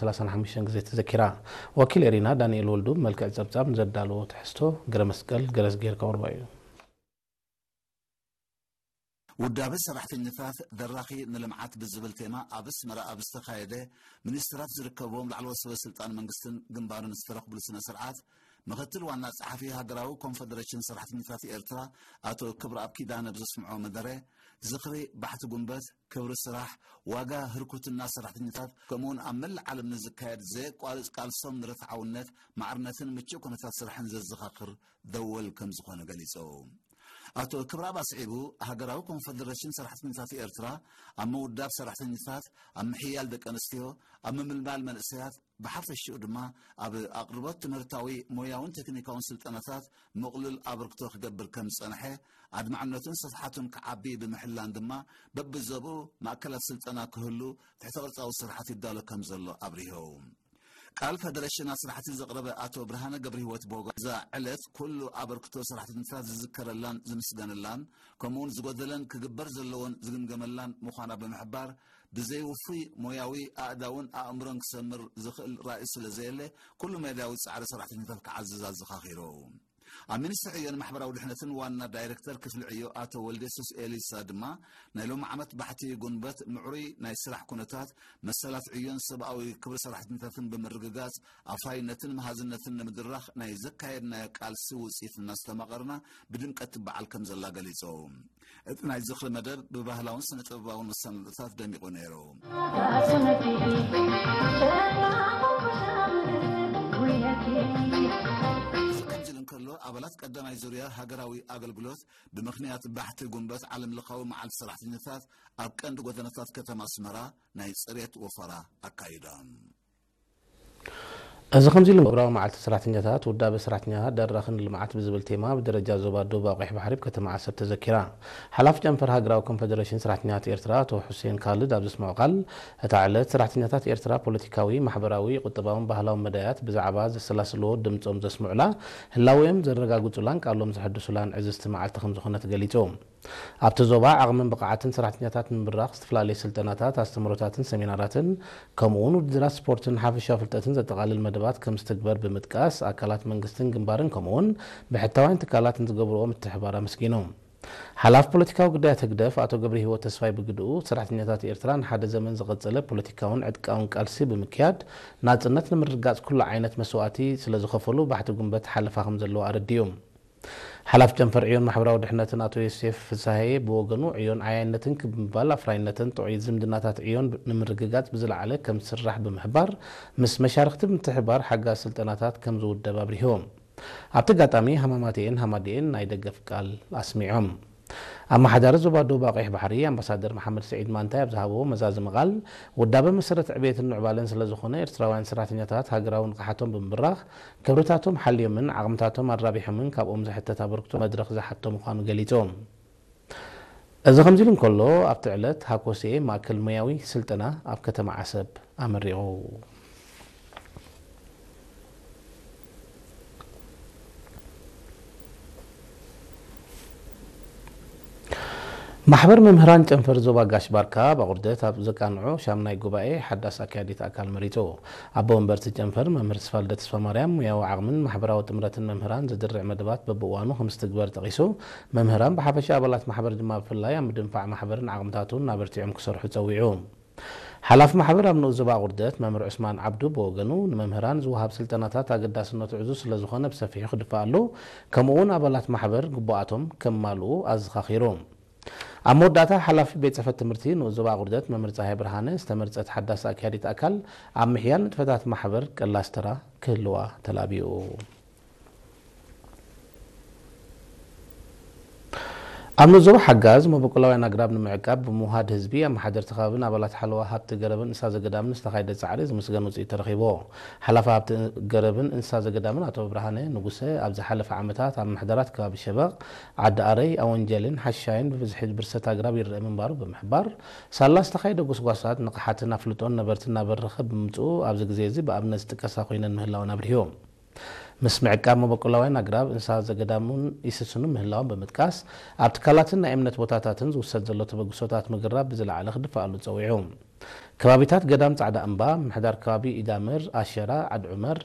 ሰላሳን ሓሙሽተን ግዜ ተዘኪራ። ወኪል ኤሪና ዳንኤል ወልዱ ብመልክዕ ጸብጻብ ንዘዳለዎ ትሕዝቶ ገረ መስቀል ገረዝጌር ከቕርቦ እዩ። ውዳበ ሰራሕተኛታት ደራኺ ንልምዓት ብዝብል ቴማ ኣብ ኣስመራ ኣብ ዝተኻየደ ሚኒስትራት ዝርከብዎም ላዕለዎት ሰበ ስልጣን መንግስትን ግንባርን ዝተረኽብሉ ስነ ስርዓት፣ ምክትል ዋና ጸሓፊ ሃገራዊ ኮንፈደሬሽን ሰራሕተኛታት ኤርትራ ኣቶ ክብረኣብ ኪዳነ ብዘስምዖ መደረ፣ ዝኽሪ ባሕቲ ጉንበት፣ ክብሪ ስራሕ፣ ዋጋ ህርኩትና ሰራሕተኛታት፣ ከምኡውን ኣብ መላእ ዓለም ንዝካየድ ዘየቋርጽ ቃልሶም ንርትዓውነት፣ ማዕርነትን ምቹእ ኩነታት ስራሕን ዘዘኻኽር ደወል ከም ዝኾነ ገሊጹ። ኣቶ ክብረኣብ ኣስዒቡ፣ ሃገራዊ ኮንፈደሬሽን ሰራሕተኛታት ኤርትራ ኣብ ምውዳብ ሰራሕተኛታት፣ ኣብ ምሕያል ደቂ ኣንስትዮ፣ ኣብ ምምልማል መንእሰያት፣ ብሓፈሽኡ ድማ ኣብ ኣቕርቦት ትምህርታዊ፣ ሞያውን ቴክኒካውን ስልጠናታት ምቕሉል ኣበርክቶ ክገብር ከም ዝጸንሐ፣ ኣድማዕነቱን ስፍሓቱን ክዓቢ ብምሕላን ድማ በብዞብኡ ማእከላት ስልጠና ክህሉ ትሕተ ቅርጻዊ ስርሓት ይዳሎ ከም ዘሎ ኣብሪሁ። ቃል ፈደረሽን ኣስራሕቲ ዘቕረበ ኣቶ ብርሃነ ገብረህይወት ቦጋ፣ እዛ ዕለት ኩሉ ኣበርክቶ ሰራሕተኛታት ዝዝከረላን ዝምስገነላን፣ ከምኡውን ዝጎደለን ክግበር ዘለዎን ዝግምገመላን ምዃና ብምሕባር፣ ብዘይ ውፉይ ሞያዊ ኣእዳውን ኣእምሮን ክሰምር ዝኽእል ራእይ ስለ ዘየለ፣ ኩሉ መዳያዊ ጻዕሪ ሰራሕተኛታት ክዓዝዝ ኣዘኻኺሩ። ኣብ ሚኒስትሪ ዕዮን ማሕበራዊ ድሕነትን ዋና ዳይሬክተር ክፍሊ ዕዮ ኣቶ ወልደየሱስ ኤሊሳ ድማ፣ ናይ ሎሚ ዓመት ባሕቲ ጉንበት ምዕሩይ ናይ ስራሕ ኩነታት፣ መሰላት ዕዮን ሰብኣዊ ክብሪ ሰራሕተኛታትን ብምርግጋጽ፣ ኣፍራይነትን መሃዝነትን ንምድራኽ ናይ ዘካየድናዮ ቃልሲ ውጽኢት እናስተማቐርና ብድምቀት ትበዓል ከም ዘላ ገሊጹ። እቲ ናይ ዝኽሪ መደብ ብባህላውን ስነ ጥበባውን መሰናዶታት ደሚቑ ነይሩ። እዚ ከምዚ ኢሉ እንከሎ፣ ኣባላት ቀዳማይ ዙርያ ሃገራዊ ኣገልግሎት ብምኽንያት ባሕቲ ጉንበት ዓለም ለኻዊ መዓልቲ ሰራሕተኛታት ኣብ ቀንዲ ጎደናታት ከተማ ኣስመራ ናይ ጽሬት ወፈራ ኣካይዶም። እዚ ከምዚ ኢሉ፣ ግብራዊ መዓልቲ ሰራሕተኛታት፣ ውዳበ ሰራሕተኛታት ደራኺ ንልምዓት ብዝብል ቴማ ብደረጃ ዞባ ደቡብ ኣቑሕ ባሕሪ ኣብ ከተማ ዓሰብ ተዘኪራ። ሓላፊ ጨንፈር ሃገራዊ ኮንፈደሬሽን ሰራሕተኛታት ኤርትራ ኣቶ ሑሴን ካልድ ኣብ ዘስምዖ ቃል፣ እታ ዕለት ሰራሕተኛታት ኤርትራ ፖለቲካዊ፣ ማሕበራዊ፣ ቁጠባውን ባህላውን መዳያት ብዛዕባ ዘሰላስልዎ ድምጾም ዘስምዑላ፣ ህላዌኦም ዘረጋግጹላን ቃሎም ዘሐድሱላን ዕዝዝቲ መዓልቲ ከም ዝኾነት ገሊጹ። ኣብቲ ዞባ ዓቕምን ብቕዓትን ሰራሕተኛታት ንምብራኽ ዝተፈላለዩ ስልጠናታት፣ ኣስተምህሮታትን ሰሚናራትን፣ ከምኡውን ውድድራት ስፖርትን ሓፈሻዊ ፍልጠትን ዘጠቓልል መደባት ከም ዝትግበር ብምጥቃስ፣ ኣካላት መንግስትን ግንባርን ከምኡውን ብሕታውያን ትካላት ንዝገብርዎ ምትሕብባር ኣመስጊኑ። ሓላፊ ፖለቲካዊ ጉዳያት ህግደፍ ኣቶ ገብረሂወት ተስፋይ ብግድኡ፣ ሰራሕተኛታት ኤርትራ ንሓደ ዘመን ዝቐጸለ ፖለቲካውን ዕጥቃውን ቃልሲ ብምክያድ፣ ናጽነት ንምርግጋጽ ኩሉ ዓይነት መስዋእቲ ስለ ዝኸፈሉ፣ ባሕቲ ጉንበት ሓለፋ ከም ዘለዎ ኣረዲኡ። ሓላፊ ጨንፈር ዕዮን ማሕበራዊ ድሕነትን ኣቶ ዮሴፍ ፍስሃየ ብወገኑ፣ ዕዮን ዓያይነትን ክብ ምባል ኣፍራይነትን ጥዑይ ዝምድናታት ዕዮን ንምርግጋጽ ብዝለዓለ ከም ዝስራሕ ብምሕባር፣ ምስ መሻርኽቲ ብምትሕብባር ሓጋዝ ስልጠናታት ከም ዝውደብ ኣብሪሁ። ኣብቲ ኣጋጣሚ ሃማማተኤን ሃማደኤን ናይ ደገፍ ቃል ኣስሚዖም። ኣመሓዳሪ ዞባ ደቡብ ኣቑሕ ባሕሪ ኣምባሳደር መሓመድ ስዒድ ማንታይ ኣብ ዝሃብዎ መዛዘሚ ቃል፣ ውዳበ መሰረት ዕቤትን ምዕባለን ስለ ዝኾነ፣ ኤርትራውያን ሰራሕተኛታት ሃገራዊ ንቕሓቶም ብምብራኽ፣ ክብርታቶም ሓልዮምን ዓቕምታቶም ኣራቢሖምን ካብኦም ዝሕተት ኣበርክቶ መድረኽ ዝሓቶ ምዃኑ ገሊጹ። እዚ ከምዚ ኢሉ እንከሎ፣ ኣብቲ ዕለት ሃኮሴ ማእከል ሞያዊ ስልጠና ኣብ ከተማ ዓሰብ ኣመሪቑ። ማሕበር መምህራን ጨንፈር ዞባ ጋሽ ባርካ ኣብ ኣቑርደት ኣብ ዘቃንዖ ሻምናይ ጉባኤ ሓዳስ ኣካያዲት ኣካል መሪጹ። ኣቦ ወንበርቲ ጨንፈር መምህር ተስፋልደ ተስፋማርያም፣ ሙያዊ ዓቕምን ማሕበራዊ ጥምረትን መምህራን ዘድርዕ መደባት በብእዋኑ ከም ዝትግበር ጠቒሱ፣ መምህራን ብሓፈሻ ኣባላት ማሕበር ድማ ብፍላይ ኣብ ምድንፋዕ ማሕበርን ዓቕምታቱን ኣበርቲዖም ክሰርሑ ጸዊዑ። ሓላፊ ማሕበር ኣብ ንኡስ ዞባ ኣቑርደት መምህር ዑስማን ዓብዱ ብወገኑ፣ ንመምህራን ዝወሃብ ስልጠናታት ኣገዳስነቱ ዕዙዝ ስለ ዝኾነ ብሰፊሑ ክድፋኣሉ፣ ከምኡ'ውን ኣባላት ማሕበር ግቡኣቶም ከማልኡ ኣዘኻኺሩ። ኣብ መወዳእታ፣ ሓላፊ ቤት ጽሕፈት ትምህርቲ ንኡስ ዞባ ኣቑርደት መምህር ጸሃየ ብርሃነ፣ ዝተመርጸት ሓዳስ ኣካያዲት ኣካል ኣብ ምሕያል ንጥፈታት ማሕበር ቀላስ ተራ ክህልዋ ተላቢኡ። ኣብ ንኡስ ዞባ ሓጋዝ መበቆላውያን ኣግራብ ንምዕቃብ ብምውሃድ ህዝቢ፣ ኣመሓደርቲ ከባብን ኣባላት ሓለዋ ሃብቲ ገረብን እንስሳ ዘገዳምን ዝተኻየደ ጻዕሪ ዝምስገን ውጽኢት ተረኺብዎ። ሓላፊ ሃብቲ ገረብን እንስሳ ዘገዳምን ኣቶ ብርሃነ ንጉሰ፣ ኣብ ዝሓለፈ ዓመታት ኣብ ምሕደራት ከባቢ ሸበቕ፣ ዓዲ ኣረይ፣ ኣወንጀልን ሓሻይን ብብዝሒ ብርሰት ኣግራብ ይረአ ምንባሩ ብምሕባር፣ ሳላ ዝተኻየደ ጎስጓሳት ንቕሓትን ኣፍልጦን ነበርቲ እናበረኸ ብምምጽኡ፣ ኣብዚ ግዜ እዚ ብኣብነት ዝጥቀሳ ኮይነን ምህላወን ኣብሪሁ። ምስ ምዕቃብ መበቆላውያን ኣግራብ፣ እንስሳ ዘገዳምን ይስስኑ ምህላዎም ብምጥቃስ፣ ኣብ ትካላትን ናይ እምነት ቦታታትን ዝውሰድ ዘሎ ተበግሶታት ምግራብ ብዝለዓለ ክድፋኣሉ ጸዊዑ። ከባቢታት ገዳም ጻዕዳ እምባ፣ ምሕዳር ከባቢ ኢዳምር፣ ኣሸራ፣ ዓድ ዑመር፣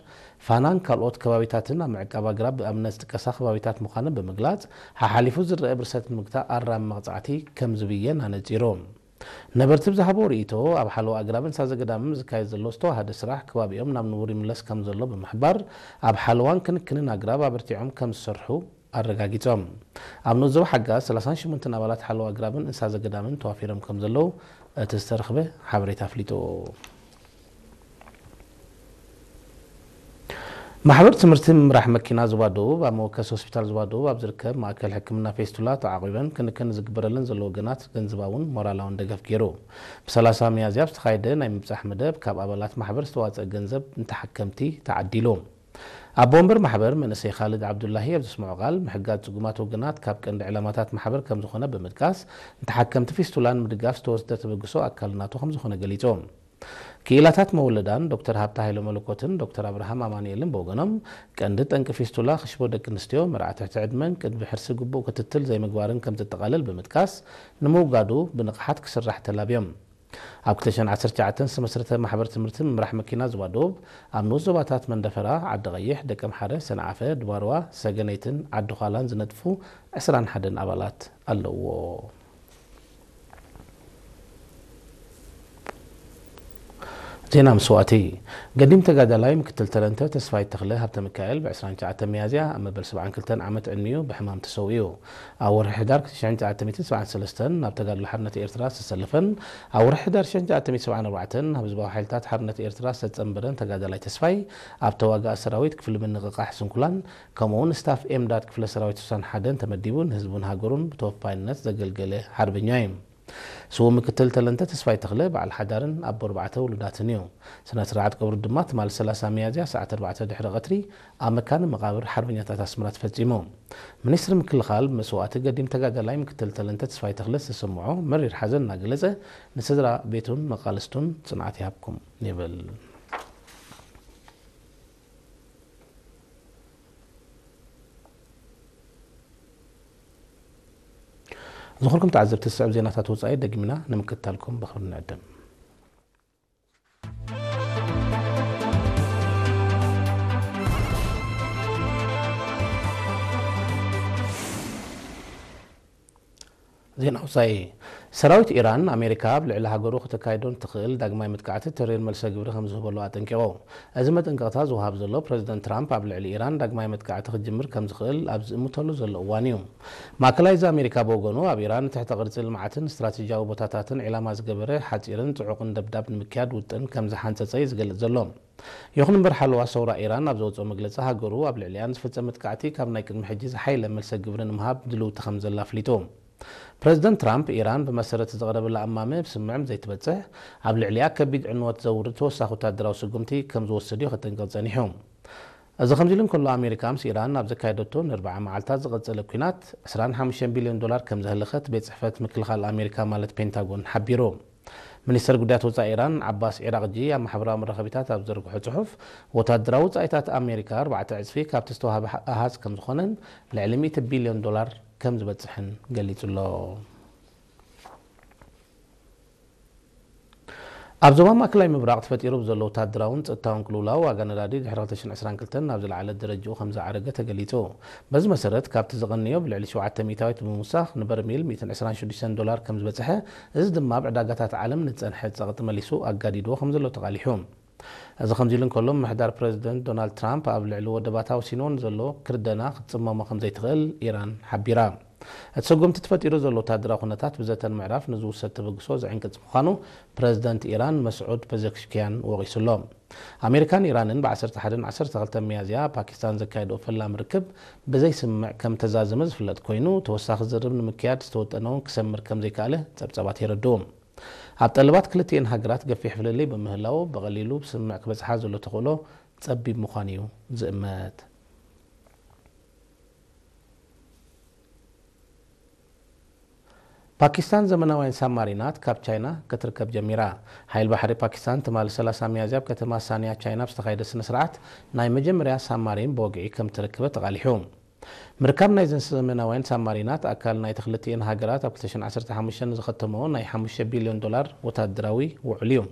ፋናን ካልኦት ከባቢታትን ኣብ ምዕቃብ ኣግራብ ብኣብነት ዝጥቀሳ ከባቢታት ምዃነን ብምግላጽ፣ ሓሓሊፉ ዝረአ ብርሰት ንምግታእ ኣራሚ መቕጻዕቲ ከም ዝብየን ኣነጺሩ። ነበርቲ ብዝሃቦ ርእይቶ፣ ኣብ ሓለዋ ኣግራብን ሳዘገዳምን ዝካየድ ዘሎ ዝተዋሃደ ስራሕ ከባቢኦም ናብ ንቡር ይምለስ ከም ዘሎ ብምሕባር፣ ኣብ ሓለዋን ክንክንን ኣግራብ ኣበርቲዖም ከም ዝሰርሑ ኣረጋጊጾም። ኣብ ንኡስ ዞባ ሓጋ ሰላሳን ሽሞንተን ኣባላት ሓለዋ ኣግራብን እንስሳ ዘገዳምን ተዋፊሮም ከም ዘለዉ እቲ ዝተረኽበ ሓበሬታ ኣፍሊጡ። ማሕበር ትምህርቲ ምምራሕ መኪና ዞባ ደቡብ ኣብ መወከሲ ሆስፒታል ዞባ ደቡብ ኣብ ዝርከብ ማእከል ሕክምና ፌስቱላ ተዓቒበን ክንክን ዝግበረለን ዘሎ ወገናት ገንዘባውን ሞራላውን ደገፍ ገይሩ። ብ30 ሚያዝያ ኣብ ዝተኻየደ ናይ ምብጻሕ መደብ ካብ ኣባላት ማሕበር ዝተዋጸአ ገንዘብ ንተሓከምቲ ተዓዲሉ። ኣቦ ወንበር ማሕበር መንእሰይ ካልድ ዓብዱላሂ ኣብ ዘስምዖ ቃል፣ ምሕጋዝ ጽጉማት ወገናት ካብ ቀንዲ ዕላማታት ማሕበር ከም ዝኾነ ብምጥቃስ፣ ንተሓከምቲ ፊስቱላ ንምድጋፍ ዝተወስደ ተበግሶ ኣካል ናቱ ከም ዝኾነ ገሊጹ። ክኢላታት መወለዳን ዶክተር ሃብተ ሃይለ መለኮትን ዶክተር ኣብርሃም ኣማኑኤልን ብወገኖም፣ ቀንዲ ጠንቂ ፊስቱላ ክሽቦ ደቂ ኣንስትዮ፣ መርዓ ትሕቲ ዕድመን ቅድሚ ሕርሲ ግቡእ ክትትል ዘይምግባርን ከም ዘጠቓልል ብምጥቃስ፣ ንምውጋዱ ብንቕሓት ክስራሕ ተላብዮም። ኣብ ክልተ ሽሕን ዓሰርተ ትሽዓተን ዝተመስረተ ማሕበር ትምህርቲ ምምራሕ መኪና ዞባ ደቡብ፣ ኣብ ንኡስ ዞባታት መንደፈራ፣ ዓዲ ቐይሕ፣ ደቀምሓረ፣ ሰንዓፈ፣ ድባርዋ፣ ሰገነይትን ዓዲ ዃላን ዝነጥፉ ዕስራን ሓደን ኣባላት ኣለውዎ። ዜና መስዋእቲ። ገዲም ተጋዳላይ ምክትል ተለንተ ተስፋይ ተኽለ ሃብተ ሚካኤል ብ ዕስራን ትሽዓተን ሚያዝያ ኣብ መበል ሰብዓን ክልተን ዓመት ዕድሚኡ ብሕማም ተሰዊኡ። ኣብ ወርሒ ሕዳር ሽሕን ትሽዓተ ሚእትን ሰብዓን ሰለስተን ናብ ተጋድሎ ሓርነት ኤርትራ ዝተሰለፈን ኣብ ወርሒ ሕዳር ሽሕን ትሽዓተ ሚእትን ሰብዓን ኣርባዕተን ኣብ ህዝባዊ ሓይልታት ሓርነት ኤርትራ ዝተጸንበረን ተጋዳላይ ተስፋይ፣ ኣብ ተዋጋኢ ሰራዊት ክፍሊ ምንቕቓሕ ስንኩላን፣ ከምኡ'ውን ስታፍ ኤምዳድ ክፍለ ሰራዊት ስሳን ሓደን ተመዲቡ ንህዝቡን ሃገሩን ብተወፋይነት ዘገልገለ ሓርበኛ እዩ። ስዉእ ምክትል ተለንተ ተስፋይ ተኽለ በዓል ሓዳርን ኣቦ ኣርባዕተ ውሉዳትን እዩ። ስነ ስርዓት ቀብሩ ድማ ትማሊ ሰላሳ ሚያዝያ ሰዓት ኣርባዕተ ድሕሪ ቀትሪ ኣብ መካነ መቓብር ሓርበኛታት ኣስመራ ተፈጺሙ። ሚኒስትሪ ምክልኻል ብመስዋእቲ ገዲም ተጋዳላይ ምክትል ተለንተ ተስፋይ ተኽለ ዝተሰምዖ መሪር ሓዘን እናገለጸ፣ ንስድራ ቤቱን መቓልስቱን ጽንዓት ይሃብኩም ይብል። ዝኾንኩም ተዓዘብቲ ዝስዕብ ዜናታት ወጻኢ ደጊምና ንምክትታልኩም ብኽብሪ ንዕድም። ዜና ወጻኢ። ሰራዊት ኢራን፣ ኣሜሪካ ኣብ ልዕሊ ሃገሩ ከተካይዶ ንትኽእል ዳግማይ መጥቃዕቲ ተሪር መልሰ ግብሪ ከም ዝህበሉ ኣጠንቂቑ። እዚ መጠንቀቕታ ዝወሃብ ዘሎ ፕረዚደንት ትራምፕ ኣብ ልዕሊ ኢራን ዳግማይ መጥቃዕቲ ክጅምር ከም ዝኽእል ኣብ ዝእምተሉ ዘሎ እዋን እዩ። ማእከላይ እዚ ኣሜሪካ ብወገኑ፣ ኣብ ኢራን ንትሕተ ቅርጺ ልምዓትን ስትራቴጂያዊ ቦታታትን ዒላማ ዝገበረ ሓጺርን ጽዑቕን ደብዳብ ንምክያድ ውጥን ከም ዝሓንጸጸ እዩ ዝገልጽ ዘሎ። ይኹን እምበር፣ ሓለዋ ሰውራ ኢራን ኣብ ዘውጽኦ መግለጺ፣ ሃገሩ ኣብ ልዕሊኣ ንዝፍጸም መጥቃዕቲ ካብ ናይ ቅድሚ ሕጂ ዝሓየለ መልሰ ግብሪ ንምሃብ ድልውቲ ከም ዘላ ኣፍሊጡ። ፕረዚደንት ትራምፕ፣ ኢራን ብመሰረት ዘቕረበላ እማመ ብስምዕም ዘይትበጽሕ፣ ኣብ ልዕሊኣ ከቢድ ዕንወት ዘውርድ ተወሳኺ ወታደራዊ ስጉምቲ ከም ዝወስድ እዩ ከጠንቅቕ ጸኒሑ። እዚ ከምዚ ኢሉ እንከሎ፣ ኣሜሪካ ምስ ኢራን ኣብ ዘካየደቶ ንኣርብዓ መዓልታት ዝቐጸለ ኲናት ዕስራን ሓሙሽተን ቢልዮን ዶላር ከም ዘህለኸት ቤት ጽሕፈት ምክልኻል ኣሜሪካ ማለት ፔንታጎን ሓቢሩ። ሚኒስተር ጉዳያት ወጻኢ ኢራን ዓባስ ዒራቕጂ ኣብ ማሕበራዊ መራኸቢታት ኣብ ዝዘርግሖ ጽሑፍ፣ ወታደራዊ ወጻኢታት ኣሜሪካ ኣርባዕተ ዕጽፊ ካብቲ ዝተዋህበ ኣሃዝ ከም ዝኾነን ልዕሊ ሚእቲ ቢልዮን ዶላር ከም ዝበጽሕን ገሊጹ ኣሎ። ኣብ ዞባ ማእከላይ ምብራቕ ተፈጢሩ ብዘሎ ወታደራውን ጸጥታውን ቅልውላው፣ ዋጋ ነዳዲ ድሕሪ ክልተ ሽሕን ዕስራን ክልተን ናብ ዝለዓለ ደረጃኡ ከም ዝዓረገ ተገሊጹ። በዚ መሰረት፣ ካብቲ ዝቐነዮ ብልዕሊ ሸውዓተ ሚእታዊት ብምውሳኽ፣ ንበርሚል ሚእትን ዕስራን ሽዱሽተን ዶላር ከም ዝበጽሐ፣ እዚ ድማ ኣብ ዕዳጋታት ዓለም ንጸንሐ ጸቕጢ መሊሱ ኣጋዲድዎ ከም ዘሎ ተቓሊሑ። እዚ ከምዚ ኢሉ እንከሎ፣ ምምሕዳር ፕረዚደንት ዶናልድ ትራምፕ ኣብ ልዕሊ ወደባታ ወሲንዎ ንዘሎ ክርደና ክትጽመሞ ከም ዘይትኽእል ኢራን ሓቢራ። እቲ ስጉምቲ ተፈጢሩ ዘሎ ወታደራዊ ኩነታት ብዘተ ንምዕራፍ ንዝውሰድ ተበግሶ ዝዕንቅጽ ምዃኑ ፕረዚደንት ኢራን መስዑድ ፐዘሽኪያን ወቒሱ ኣሎ። ኣሜሪካን ኢራንን ብ ዓሰርተ ሓደን ዓሰርተ ክልተን ሚያዝያ ፓኪስታን ዘካየድኦ ፈላሚ ርክብ ብዘይስምምዕ ከም ተዛዘመ ዝፍለጥ ኮይኑ፣ ተወሳኺ ዝርርብ ንምክያድ ዝተወጠነ እውን ክሰምር ከም ዘይከኣለ ጸብጻባት የረድኡ። ኣብ ጠለባት ክልቲኤን ሃገራት ገፊሕ ፍልልይ ብምህላዉ፣ ብቐሊሉ ብስምምዕ ክበጽሓ ዘሎ ተኽእሎ ጸቢብ ምዃኑ እዩ ዝእመት። ፓኪስታን ዘመናውያን ሳብማሪናት ካብ ቻይና ክትርከብ ጀሚራ። ሓይል ባሕሪ ፓኪስታን ትማሊ ሰላሳ ሚያዝያ ኣብ ከተማ ሳንያ ቻይና ኣብ ዝተኻየደ ስነ ስርዓት ናይ መጀመርያ ሳብማሪን ብወግዒ ከም እተረከበ ተቓሊሑ። ምርካብ ናይዘን ዘመናውያን ሳብማሪናት ኣካል ናይቲ ክልቲኤን ሃገራት ኣብ ክልተ ሽሕን ዓሰርተ ሓሙሽተን ዝኸተመኦ ናይ ሓሙሽተ ቢልዮን ዶላር ወታደራዊ ውዕል እዩ።